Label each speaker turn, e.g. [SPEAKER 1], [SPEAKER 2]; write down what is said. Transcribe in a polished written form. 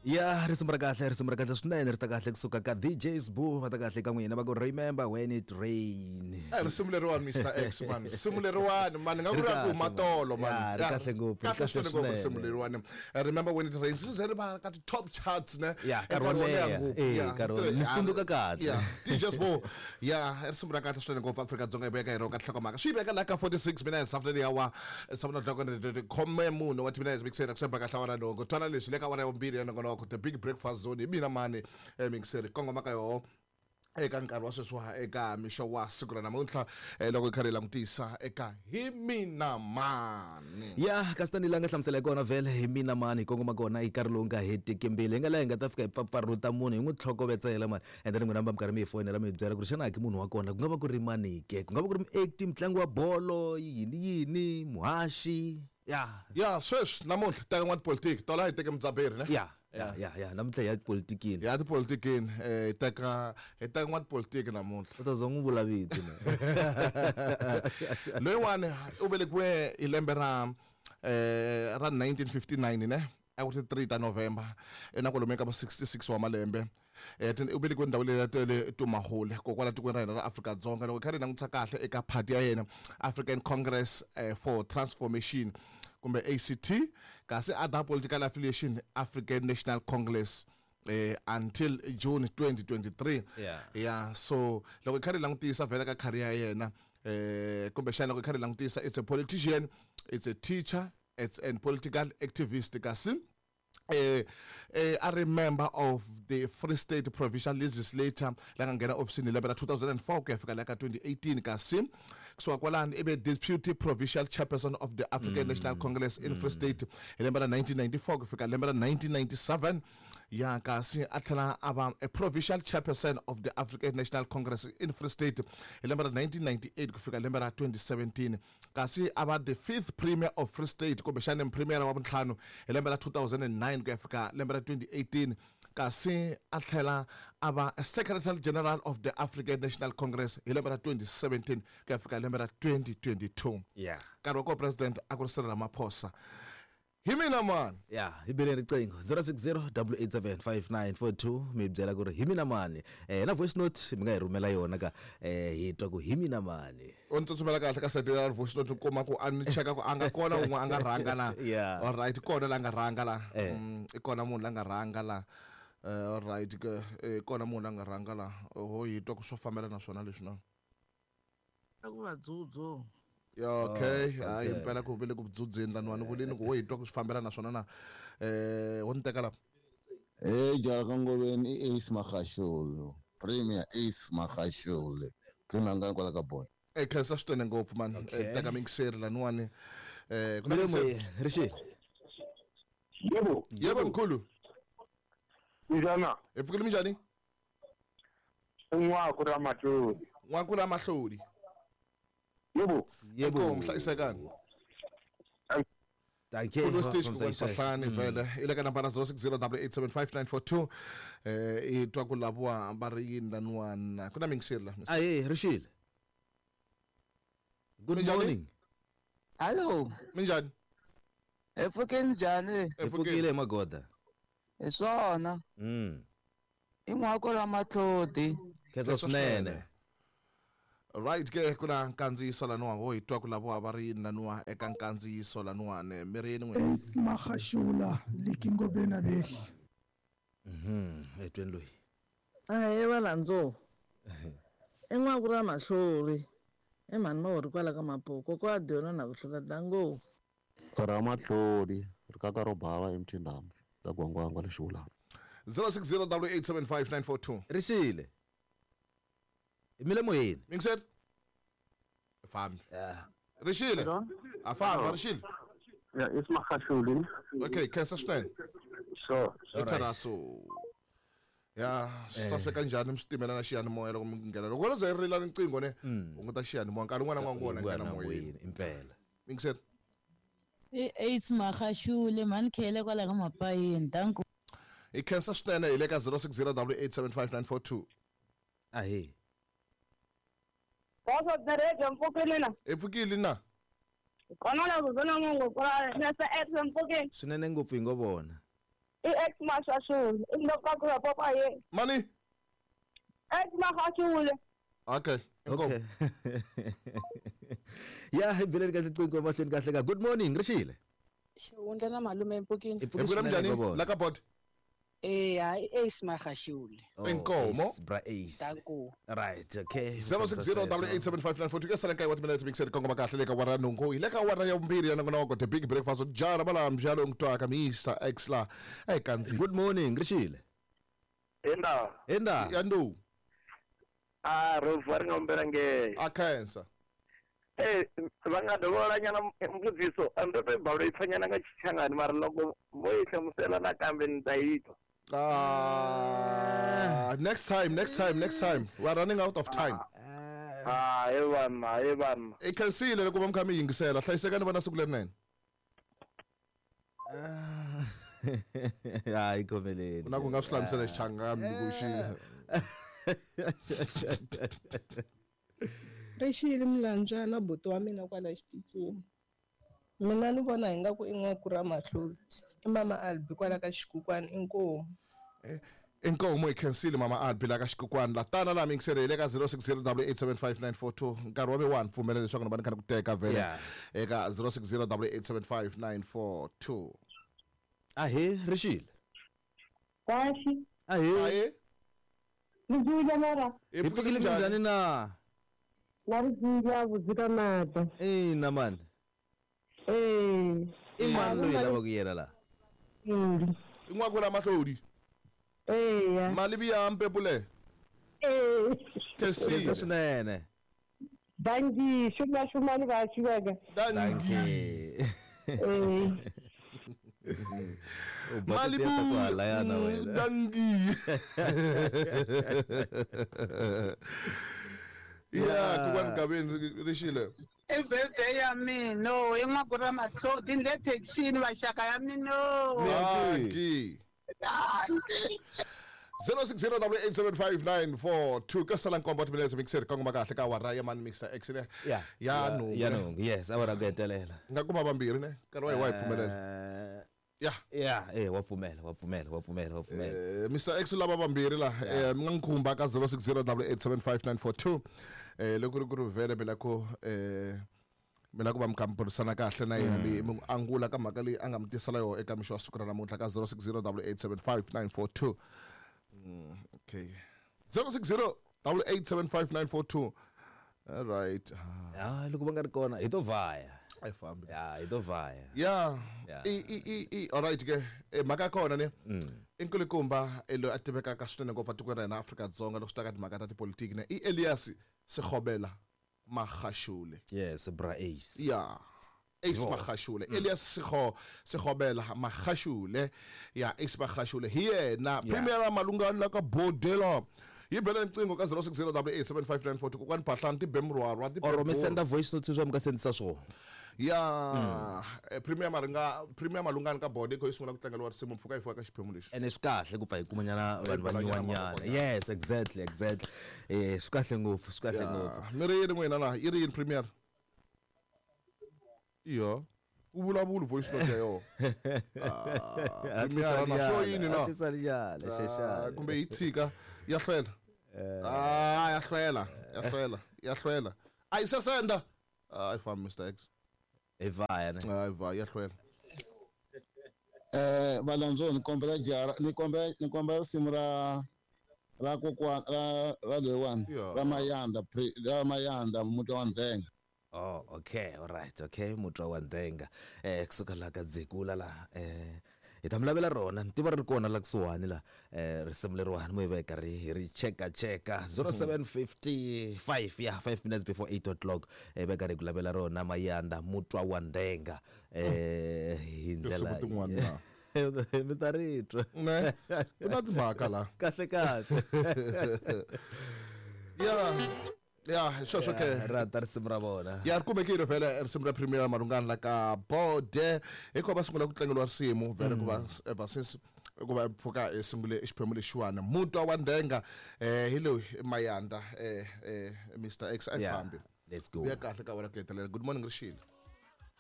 [SPEAKER 1] Ya, risimu ra kahle, risimu ra kahle swinene, ri ta kahle kusuka ka DJ Sbu, va ta kahle ka n'wina va ku "Remember When It Rain".
[SPEAKER 2] Eh, risimu leriwani, Mr X man, risimu leriwani man, nga ku
[SPEAKER 1] Ri
[SPEAKER 2] ri ya ku
[SPEAKER 1] kahle, man.
[SPEAKER 2] matolo man.
[SPEAKER 1] Ya, ri
[SPEAKER 2] Ya,
[SPEAKER 1] kahle ngopfu, ri
[SPEAKER 2] kahle
[SPEAKER 1] kahle
[SPEAKER 2] swinene ngopfu risimu
[SPEAKER 1] swinene.
[SPEAKER 2] leriwani. Eh, "Remember When It Rains" ri ze ri va ka ti-top charts ne.
[SPEAKER 1] Ya,
[SPEAKER 2] Eh,
[SPEAKER 1] nkarhi wo
[SPEAKER 2] nkarhi wo leha
[SPEAKER 1] leha.
[SPEAKER 2] ngopfu.
[SPEAKER 1] Eh,
[SPEAKER 2] Ya,
[SPEAKER 1] nkarhi wo leha. Ni tsundzuka kahle.
[SPEAKER 2] Ya, DJ Sbu ya, i risimu ra kahle swinene ngopfu. Afrika-Dzonga yi veka hi rona ka nhlokomhaka, swi yi veka laha ka 46 minutes after the hour, 7 o'clock, khome munhu wa timinutes mixeri kusemba kahle awara nhungu. Twana leswi le ka awara ya vumbirhi ya nongonoko The Big Breakfast Zone, hi mina mani mixeri kongoma ka yoho eka nkarhi wa sweswiwa eka mixo wa siku ra namuntlha, loko hi karhi hi langutisa eka "Hi Mina Mani".
[SPEAKER 1] Ya, kasi tanihi laha nga hlamusela hi kona vhele, "Hi Mina Mani" hi kongoma kona hi nkarhi lowu nga hetiki mbili, hi nga laha hi nga ta fika hi pfapfarhuta munhu, hi n'wi tlhokovetsela mani, and then n'wina va mi karhi mi hi fonela mi hi byela ku ri xana ki munhu wa kona ku nga va ku ri mani ke, ku nga va ku ri muacti, mutlangi wa bolo, yini yini, muhaxi, ya.
[SPEAKER 2] Ya, sweswi namuntlha teka n'wa tipolitiki tola, hi teke mudzaberi ne.
[SPEAKER 1] Ya, namuntlha hi ya tipolitikini.
[SPEAKER 2] Ya tipolitikini, hi teka n'wa tipolitiki namuntlha.
[SPEAKER 1] U ta za n'wi vula vito ne.
[SPEAKER 2] Loyiwani u velekiwe hi lembe ra 1959 ne, a ku ri 3 ta November, i na kwalomu ka va 66 wa malembe. U velekiwe ndhawu leyi ya le Tumahole kokwala tikweni ra hina ra Afrika-Dzonga. Loko hi kha hi langutisa kahle eka party ya yena, African Congress for Transformation kumbe ACT, kasi other political affiliation African National Congress until June 2023. Yeah, so loko hi kha hi langutisa vhele ka career ya yena, kumbexana loko hi kha hi langutisa, it's a politician, it's a teacher, it's a political activist, kasi a ri member of the Free State Provincial Legislature la nga nghena ofisini hi lembe ra 2004 ku ya fika la ka 2018, kasi kusuka kwalani i ve deputy provincial chairperson of the African National Congress in Free State hi lembe ra 1994 ku fika lembe ra 1997. Ya, kasi a tlhela a va a provincial chairperson of the African National Congress in Free State hi lembe ra 1998 ku fika lembe ra 2017, kasi a va the fifth premier of Free State kumbexana premier wa vuntlhanu hi lembe ra 2009 ku ya fika lembe ra 2018, kasi a tlhela a va secretary general of the African National Congress hi lembe ra 2017 ku ya fika lembe ra 2022. Nkarhi wa koho president a ku ri Cyril Ramaphosa. Hi mina mani?
[SPEAKER 1] Ya, hi bele riqingho 060 887 5942, mi byela ku ri hi mina mani. Na voice note mi nga hi rhumela yona ka hi twa ku hi mina mani.
[SPEAKER 2] U ni tsutsumela kahle ka side ra voice note, kuma ku a ni cheka ku a nga kona un'we a nga rhanga na. Alright, kona la nga rhanga la. I kona munhu la nga rhanga la. Alright ke, kona munhu la nga rhanga la, ho hi twa ku swo fambela na swona leswi na.
[SPEAKER 3] Ku va dzudzu.
[SPEAKER 2] Ya, okay.
[SPEAKER 1] Oh,
[SPEAKER 2] Hayi.
[SPEAKER 1] Okay.
[SPEAKER 2] Impela ku vele ku dzudzeni laniwani vulini ku ho hi twa ku swi fambela na swona na ho ni teka lapa.
[SPEAKER 4] Hey, jala Ngoveni, i Ace Magashule. Premier Ace Magashule. Premier nga kwala ka bona.
[SPEAKER 2] E khensa swinene ngopfu man.
[SPEAKER 1] Okay.
[SPEAKER 2] Teka mingiseri laniwani, ku na
[SPEAKER 1] mi le
[SPEAKER 2] mingiseri.
[SPEAKER 1] moyeni, rixile.
[SPEAKER 5] Yebo.
[SPEAKER 2] Yebo mkhulu.
[SPEAKER 5] Njani?
[SPEAKER 2] Hi pfukile, minjhani?
[SPEAKER 5] N'waku ra Matloli.
[SPEAKER 2] N'waku ra Mahlodi.
[SPEAKER 5] Yebo.
[SPEAKER 1] Yebo.
[SPEAKER 2] Inkomu, hlayisekani.
[SPEAKER 1] Dankie.
[SPEAKER 2] Khulu stage ku Fahlani vele i le ka nambara 060 8875942. I twa ku laviwa va ri yini laniwana, ku na mingiseri la.
[SPEAKER 1] Aye, rixile, good
[SPEAKER 2] Minjhani?
[SPEAKER 1] morning.
[SPEAKER 6] Hallo,
[SPEAKER 2] Minjhani?
[SPEAKER 6] hi pfuke njhani?
[SPEAKER 1] Hi pfukile hi magoda.
[SPEAKER 6] Hi swona. I n'wako ra Matlodi.
[SPEAKER 1] Khensa swinene.
[SPEAKER 2] Right ke, ku na nkandziyiso laniwa, ho hi twa ku laviwa va ri yini laniwa eka nkandziyiso laniwani, mi ri yini n'wina?
[SPEAKER 7] Ace Magashula le Ngobeni behli.
[SPEAKER 1] Etweni loyi.
[SPEAKER 3] Ahee valandzovu, i n'waku ra Mahlori, i mhani Mahori kwala ka Mapuku ko a dyona na ku hlula dango.
[SPEAKER 8] Ramatlhodi ri kaka ro bava emthindamu la gwangwangwa lexi vulana.
[SPEAKER 2] 060 875
[SPEAKER 1] Rixile, mi le moyeni.
[SPEAKER 2] Mingiseri fambi.
[SPEAKER 1] Yeah.
[SPEAKER 2] Rixile, a famba rixile.
[SPEAKER 5] Ya, Ace Magashule.
[SPEAKER 2] Okay, khensa swinene.
[SPEAKER 5] Sure.
[SPEAKER 2] I tsharaso ya swi saseka njhani mi swi timela na xiyanimoya loko mi nghena, loko ro ze ri rila riqingho ne, hunguta xiyanimoya nkarhi wun'wana na wun'wana nghena moyeni.
[SPEAKER 1] Impela.
[SPEAKER 2] Mingiseri.
[SPEAKER 9] I Ace Magashule, mhani khele kwala ka Mapayeni, danko.
[SPEAKER 2] Hi khensa swinene, hi le ka 060 875
[SPEAKER 1] Ahe.
[SPEAKER 10] Boso the radio, mpfukile na.
[SPEAKER 2] Hi pfukile na.
[SPEAKER 10] Kona la ku vona mungu kwa Mr X, mpfukile.
[SPEAKER 1] Swinene ngopfu, hi ngo vona.
[SPEAKER 10] I ex Magashule. I ndoka papa ye.
[SPEAKER 2] Mani?
[SPEAKER 10] Ex Magashule.
[SPEAKER 2] Okay.
[SPEAKER 1] Okay. Ya hi beleni kahle cinco emahlweni kahle ka. Good morning, Rishile.
[SPEAKER 11] Xihundla na malume empukeni.
[SPEAKER 2] Hi pfukile njhani? La ka bot.
[SPEAKER 11] Eh, hayi Ace Magashule.
[SPEAKER 2] Inkomo.
[SPEAKER 1] Bra Ace.
[SPEAKER 11] Danko.
[SPEAKER 1] Right, okay.
[SPEAKER 2] 060887594 ke sala nkayi wa timinetse mixed kongoma kahle le ka wara nungu hi le ka wara ya vumbirhi ya nongonoko the big breakfast jara bala mjalo ngitwaka Mr X la ekanzi.
[SPEAKER 1] Good morning, Rishile.
[SPEAKER 5] Enda.
[SPEAKER 1] Enda.
[SPEAKER 2] Yandu.
[SPEAKER 5] Ah, rovar ngombera nge.
[SPEAKER 2] Akhensa.
[SPEAKER 5] Eh, va nga dovhola nyana mbudziso, a ndo to bawula ipfanyana nga Xichangani mara loko vo yi hlamusela nakambe ni ta yi twa.
[SPEAKER 2] Next time. We are running out of time.
[SPEAKER 5] He vanna.
[SPEAKER 2] I khensile loko va mi kha mi yingisela. Hlayisekani vana siku lerinene.
[SPEAKER 1] Hayi khomeleni.
[SPEAKER 2] Na ku nga swi hlamusela Xichangani ku xi.
[SPEAKER 12] Rixile Mlanjana buti wa mina kwala xitichini. Mina ni vona hi nga ku i n'waku ra Mahloti. I mama Albi kwala ka Xikukwani inkomu.
[SPEAKER 2] Inkomu i khensile mama Albi la ka Xikukwani la tana la mingisele hi le ka 0608875942 nkarhi wa ve 1 pfumela leswaku ni va ni kha ni ku teka vhele eka 0608875942.
[SPEAKER 1] Ahe Rixile.
[SPEAKER 10] Kahle.
[SPEAKER 1] Ahe.
[SPEAKER 10] Ni mara.
[SPEAKER 1] Hi pfukile njhani na?
[SPEAKER 10] La ri dzula vhudzika mata.
[SPEAKER 1] Ina mani.
[SPEAKER 10] Eh.
[SPEAKER 1] I mani loyi lavaka yena la?
[SPEAKER 2] I n'waku ra Mahlodi.
[SPEAKER 10] Eya.
[SPEAKER 2] Mali ya mpepule.
[SPEAKER 10] Eh.
[SPEAKER 2] Khensile
[SPEAKER 1] swinene.
[SPEAKER 10] Danki, shuma shumani va xiveka.
[SPEAKER 2] Danki.
[SPEAKER 10] Eh.
[SPEAKER 2] Malibu danki. Yeah, kukwani Gabeni Rishile.
[SPEAKER 6] I birthday ya mina, i n'waku ra Mahlodi ni le thekisini vaxaka ya mina.
[SPEAKER 2] Danki. 0608875942 ka sala nkombo timinetse mixer kongoma kahle ka wara ya mani Mr X ne. Ya nungu.
[SPEAKER 1] Ya nungu. Yes, awara ku hetelela.
[SPEAKER 2] Nga kuma vambirhi ne. Nkarhi wa hi wa hi pfumelela.
[SPEAKER 1] Yeah. Wa pfumela.
[SPEAKER 2] Mr X lava vambirhi la mi nga nkhumba ka 0608875942 loko ri ku ri vhele mi la ku mi la ku va mi kha mi burisana kahle na yena mi n'wi angula ka mhaka leyi a nga mi tisela yona eka mixo wa siku ra namuntlha ka 0608875942. Okay. 0608875942. All right.
[SPEAKER 1] Loko va nga ri kona hi to vhaya.
[SPEAKER 2] A yi fambi.
[SPEAKER 1] Ya, hi to vhaya.
[SPEAKER 2] Yeah. I all right ke. Mhaka ya kona ne. I nkulukumba loyi a tivekaka swinene ngopfu etikweni ra hina Afrika-Dzonga loko swi ta ka timhaka ta tipolitiki ne i Elias Sekgobela Magashule.
[SPEAKER 1] Yes, bra Ace.
[SPEAKER 2] Yeah. Ace Magashule. Elias Sekgobela Magashule. Yeah, Ace Magashule. Hi yena Premier Malungani la ka Bodela. Yi bela riqingho ka 0608875942 kokwani Phahlani ti be murhwarwa ti
[SPEAKER 1] or mi senda voice note sweswi mi nga sendisa swona.
[SPEAKER 2] Ya Premier Maringa Premier Malungani ka bode yi sungula ku tlangeriwa risimu mpfhuka yi fika ka xiphemu lexi.
[SPEAKER 1] Ene swi kahle ku pfa hi kumanyana vanhu va nyuwanyana. Yes, exactly. Swi kahle ngopfu, swi kahle ngopfu.
[SPEAKER 2] Mi ri yini n'wina la? Yi ri yini Premier? Iyo. U vulavula voice note ya yona. Premier na swo yini na? Kumbe yi tshika ya hlwela. Ya hlwela. A yi sesenda. I found Mr X.
[SPEAKER 1] I vhaya ne.
[SPEAKER 2] I vhaya ya hlwela.
[SPEAKER 4] Valandzo ni kombela jara ni kombela risimu ra kokwana ra loyiwani ra Mayanda ra Mayanda Mutwa wa Ndzhenga.
[SPEAKER 1] Oh, okay, all right, okay, Mutwa wa Ndzhenga. Kusuka la ka Dzekula la hi ta mi lavela rona ni tiva ri kona la kusuhani la risimu leriwani mo hi va hi karhi hi ri cheka 07:55 yeah 5 minutes before 8 o'clock hi va karhi hi ku lavela rona Mayanda Mutwa wa Ndzhenga hi ndlela
[SPEAKER 2] tin'wana
[SPEAKER 1] mi ta ri twa
[SPEAKER 2] ne ku na timhaka la
[SPEAKER 1] kahle kahle.
[SPEAKER 2] Yeah, sweswo ke
[SPEAKER 1] ra ta risimu ra vona.
[SPEAKER 2] Ya ri kumekile vhele risimu ra Premier Malungani la ka Bode hikuva va sungula ku tlangeriwa risimu vhele ku va ever since ku va pfuka hi sungule xiphemu lexiwani Mutwa wa Ndzhenga hi loyi Mayanda Mr X a yi fambi.
[SPEAKER 1] Let's go.
[SPEAKER 2] Ya kahle ka wena ku hetelela. Good morning Rishile.